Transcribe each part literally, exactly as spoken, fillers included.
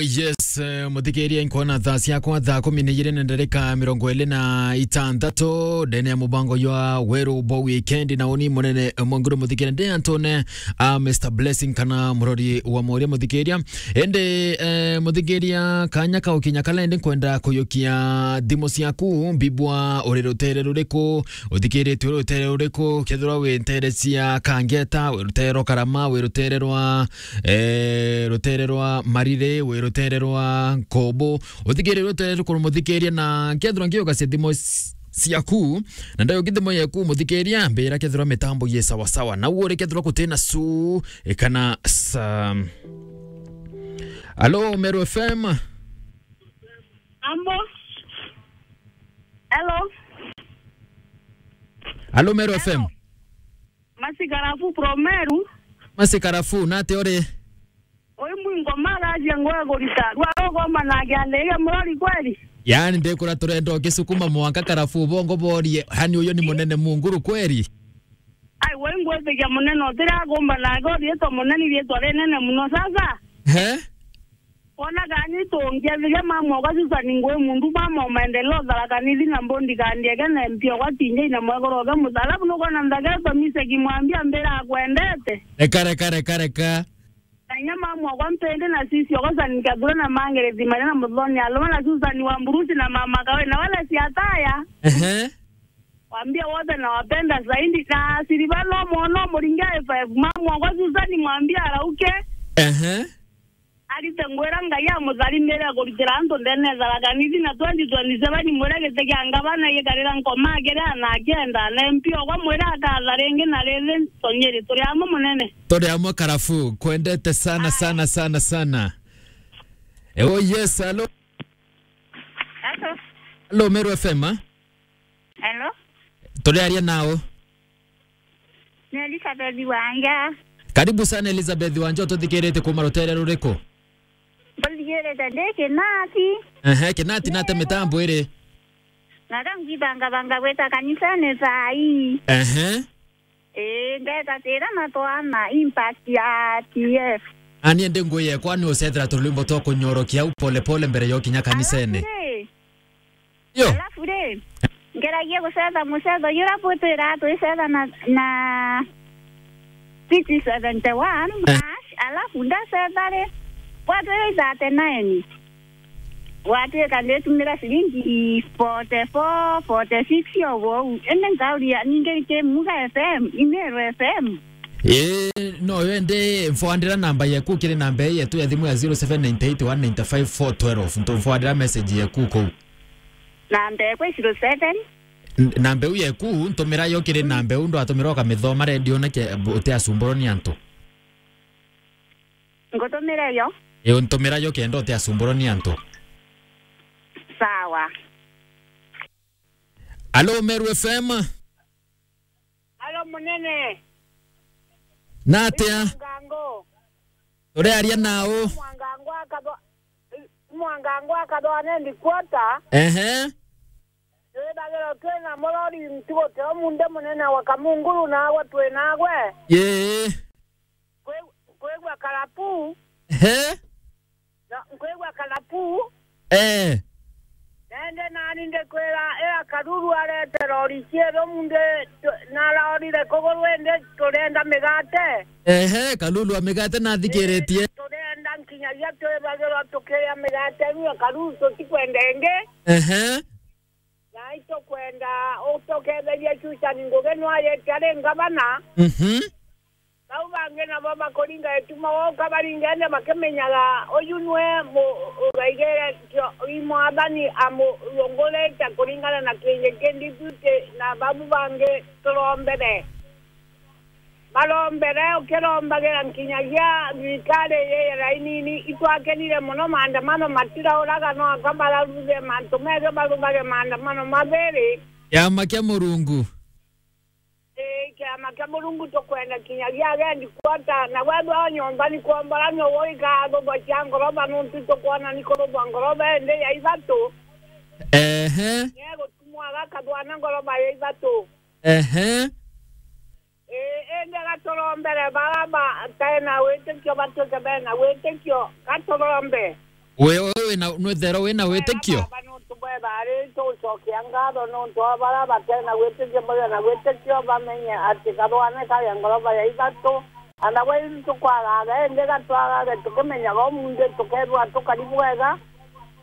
Yes, eh, muthikiria, nkwona thaa ciakwa thaa kumi na igiri na ndarika mirongo iri na itantatu, ndene ya mubango jwa Weru bo weekend, na uni munene, eh, Mwanguru muthikiria, ndi antone, ah, Mister Blessing kana murori wa moria muthikiria. Indi, eh, muthikiria, kanya ka ukinya kala indi nkwenda kuyukia thimu ciaku, mbibwa uri rutere ruriku, uthikiritie uri rutere ruriku, kethirwa wi ntere cia Kangeta, wi rutere rwa Karama, wi rutere rwa eh, rutere rwa Marire, wi rutere rwa Nkobo. Uthikirire rutere rukuru muthikiria, na kethirwa ngiuga cia thimo s-, ciaku, na ndayo kithimo yeku muthikiria, mbira kethirwa mitambo ye sawa sawa. Na uo ri kethirwa kutina su, e, kana sa. Alo, Meru F M. Ambo. Hello. Alo, Meru F M. Hello. Masi Karafu from Meru. Masi Karafu, nate uri? Oi mwingo maracia ngoe kurita. Rwa rogoma na giande iga murori kweli? Yaani, ndikura turenda ukisukuma mwanka Karafu bongo borie, hani uyu ni munene Munguru kweli? Ai, we ngwitikia munene utira gumba na gori yetu munene yetu ari nene muno sasa. He? Wona gani tungiathiria mama uga Susan ngwi mundu mama umaendeleo Tharaka Nithi na mbondi kandiege na M P ogwa tinjei na mwegoro uge muthalabu nukona nthagete mise kimwambia mbira akwendete. Reka, reka, reka, reka. Na inya mama ogwa mpende na sisi ogwa Susan kathura na mangere thimanya na muthoni aluma na Susan wa mburusi na mama kawe na wale siataya. Ehe. Wambia wote nawapenda zaidi na siriba no mwono muringa F F mama ogwa Susan mwambia arauke. Ehe. Arite ngwira Ngai amutharimire kuritira antu ndene Tharaka Nithi na twenty twenty-seven mwire giti kia ngavana gikarira nkoma akiri ana akienda na M P ogwa mwire akatha ringi na rithi tonyiri turi amwe munene. Turi amwe Karafu, kwendete sana, sana, sana, sana. Eh, oh yes, hello. Hello. Hello, Meru F M, ah? Hello. Turiaria nao. Ni Elizabeth Wanja. Karibu sana Elizabeth Wanja, ututhikirite kuma rutere ruriku? Mbuthikirite ndi Kinati. Ehe, Kinati nate mitambo iri. Na ka ngithangabanga gwita kanisani thaa ii. Ehe. Ii, ngetatira na twana impact ya T F. Ani ndi ngui yekwa ni ucethera turwimbo twa kunyorokia au pole pole mbere yo kinya kanisene. Alafu ri, yo. Alafu ri, ngeragia gucetha mucetho jura butwira twicetha na, na six seventy one, eh, hash, alafu ndacetha ri, bwatwira thirty nine. Gwatuika nditumira ciringi forty four, forty six o bou. Indi nkauria ningi ki Muga F M, Imeru F M? Ii, no yo indi mfwandira namba yeku kiri namba ii yetu ya thimu ya zero seven nine eight one nine five four twelve. Ntumfwandira message yeku kou. Namba ekwa zero seven. N-, namba iu yeku, ntumira yo kiri namba iu ndwatumira ukamithoma redio na ke-, utiasumburwa ni antu. Ngutumire yo? Ii, ntumira yo kenda utiasumburwa ni antu. Sawa. Alo, Meru F M. Alo, munene. Natia? Mwangango. Turiaria nau? Mwangango akathwa-, Mwangango akathwa nendi quarter. Ehe. Twithagirwa twina murori ntugo tio munde munene wa Kamunguru nagwe twi nagwe. Yee. Kwi-, kwigua karapu. Ehe. Na nkwigua karapu. Eh. Nende nani ndikwira ira karuru arete rori cieru munde tu-, narorire kuguru indi turenda migate. Ehe, karuru a migate nathikiritie. Turenda nkinyagia twibagirwa tukiria migate ruo karuru tutikwenda ingi. Ehe. Na itukwenda utuketherie Susan Ngugi nwayete ari ngavana. Mhm. Bau bangi nabo bakuringa ituma wauka baringa indi bakimenyaga uyu nwe mu-, ugaigire kio-, i mwathani amurungurite kuringana na kingi kindi tuti na babu bangi turombere. Barombere ukirombagira nkinyagia thirikari ii ya rainini itwakenire muno maandamano matirauraga no aka bararuthire mantu methio baruthage maandamano mathiri. Kiama kia Murungu. Ii, kiama kia Murungu tukwenda kinyagia agendi kwota na wethwa nyomba ni kwombora ni uguika thugwa cia ngoroba nuntu tukwona ni kurubwa ngoroba indi ya ithatu. Ehe. Niegutumwa gakathwana ngoroba ya ithatu. Ehe. Ii, indi gaturombere bara batae na witikio batuike bena witikio, gaturombe. We, we wina, nwithero wina witikio? Baba, nuntu bwega ari, tugucokia ngatho nuntu wa bara batena witikio, bagia na witikio, bamenye ati kathwane kari ngoroba ya ithatu. Ana we, tukwagaga, indi gatwagage, tukimenyaga umunthi, tukethwa tukari bwega,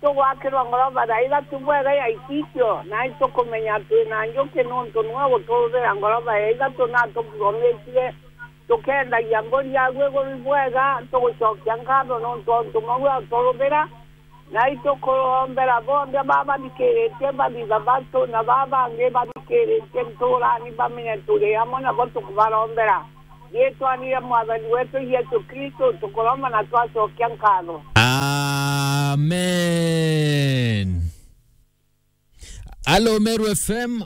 tugwakirwa ngoroba ya ithatu bwega ya itikio, na itukumenya twina njuki nuntu niwe guturubira ngoroba ya ithatu na atuthomithie. Tukendagia mburi yaku iguru bwega, tugucokia nkatho nontu wa untu mauga uturubira, na itukurombera bonthe baba bathikiritie bathitha batu, na baba bangi bathikiritie nturani bamenye turi amwe nabo tukubarombera. Riitwani ria Mwathani wetu Yesu Kristo tukuromba na twacokia nkatho. Amen. Alo, Meru F M.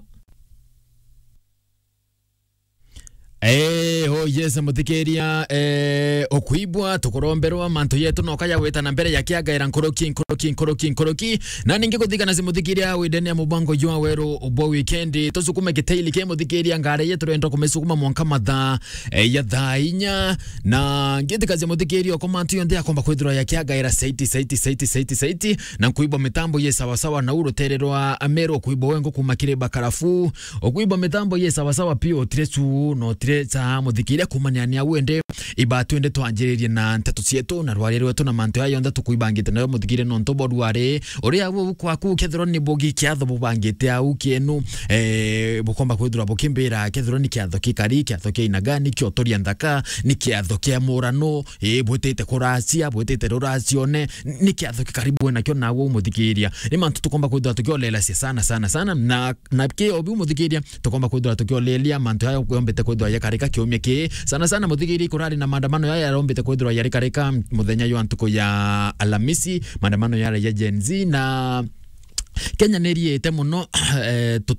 Eh, oh yes, muthikiria, eh, ukuibwa, tukuromberwa, mantu yetu noka ya gwita na mbere ya kiagaira nkuruki, nkuruki, nkuruki, nkuruki. Na ningi kuthikana si muthikiria windene ya mubango jwa weru bwa weekend. Tusukume gitaili ki muthikiria ngari yetu turenda kumisukuma mwanka mathaa, eh, ya thaa inya. Na ngitikacia muthikiria oko mantu yonthe akomba kwithirwa ya kiagaira saiti, saiti, saiti, saiti, saiti. Na nkuibwa mitambo ye sawa sawa na urutere rwa Meru, kuibwa wengo kuma kiri bakarafu. Ukuibwa mitambo ye sawa sawa pia, utire cu, no utire ca muthikiria kumania ni au ende. Iba twende twanjiririe na nteto cietu na rwaria rwetu na mantu aya yonthe tukuibangite nayo muthikiria nontu bo rwari. Uria au kwaku kethirwa ni bugi kiatho bubangite au kienu, eh, bukomba kwithirwa bukimbira kethirwa ni kiatho kikari, kiatho kia aina gani, kiotoria nthaka, ni kiatho kia murano, eh, bwitite kuracia, bwitite ruracione, ni kiatho kikari bwe nakio nawe umuthikiria. Ni mantu tukomba kwithirwa tukiolelacia sana, sana, sana, na na kio biu muthikiria, tukomba kwithirwa tukiolelia mantu aya yombite kwithirwa yakarika kiumia ki. Sana sana muthikiria, kurari na maandamano yaya yarombite kwithirwa yarikarika muthenya jwa ntuku ya Alamisi, maandamano yara ya Gen Z na Kenya ni riite muno, eh,